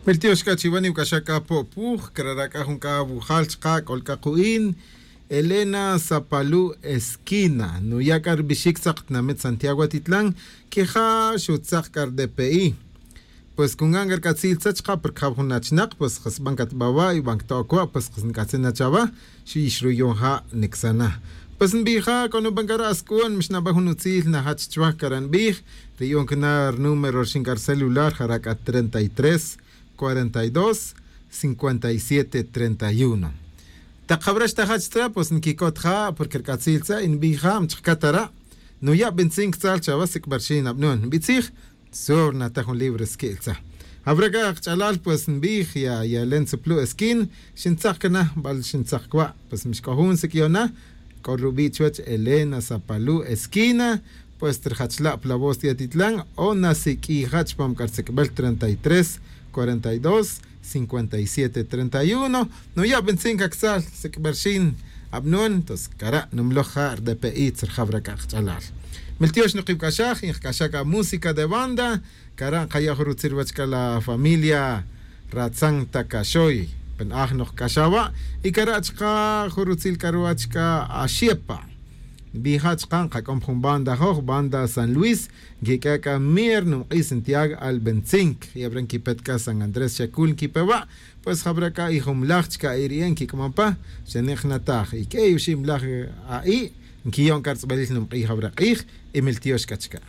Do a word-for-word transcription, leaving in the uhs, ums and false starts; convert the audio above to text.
Miltiox c'a chiwa niwac'axa c'a po'puj crara' c'a jun c'a wujal chka c'ol c'a ku'in. Elena sapalu' esquina nuya' c'a rubixic tzak tinamit santiago atitlan. Quija xutzak c'a rdpi. Pues cungan c'a rc'atzil tza chka porque jab jun achinak pues jasban catbawa' y ban cto'oc wa' pues jasnc'atzin na chawa. Xix ruyon ja' nicsana. Pues nbija' c'a nuban c'a ra' asc'uon mix naban jun utzil najach chwa c'a ra' nbij. Riyon cana rnúmero rixin c'a rcelular jara' c'a treinta y tres, cuarenta y dos, cincuenta y siete treinta y uno. Tak jawra xtajach tra pues nquicot ja' porque rc'atzil tza y nbija' mchkcat ara'. Nuya' bintzin ctzal chawa sic'barxin abnon nbitzij. Sur nata jun libro squi'l tza. Jawra c'a kach'alal pues nbij ya yalen tzuplu' esquin. Xintzak cana bal xintzak cwa' pues mixc'o jun sic'yona. C'o rubi' chuwech elena sapalu' esquina. Pues trjachla' pla voz ti atitlan o nasiq'uija' chupam c'a rsic'bel treinta y tres, cuarenta y dos, cincuenta y siete treinta y uno. Nuya' bintzin cactzal sic'berxin abnon tos cara' numloj ja' rdpi tzerjaw ra c'a kach'alal. Miltiox nukibc'axaj y nkac'axa c'a música de banda. Cara' nkaya' jun rutzil ruwech c'a la familia ratzan ta caxoy. Penaj nokc'axa wa' y cara' chka jun rutzil c'a ruwech c'a axepa. Nbija' chka nkac'om jun banda joj banda san luis. Nquiq'ue' c'a mier numk'is ntiag albentzin. Yabra nquipet c'a san andrés xacul nquipe wa'. Pues jabra c'a ijumlaj chca iri'e' nquic'amon pa. Xanik' jnataj y q'uey oxib mlaj a'i'. Nquiyon c'a rtz'balil numk'ij jabra k'ij. Y miltiox c'a chca.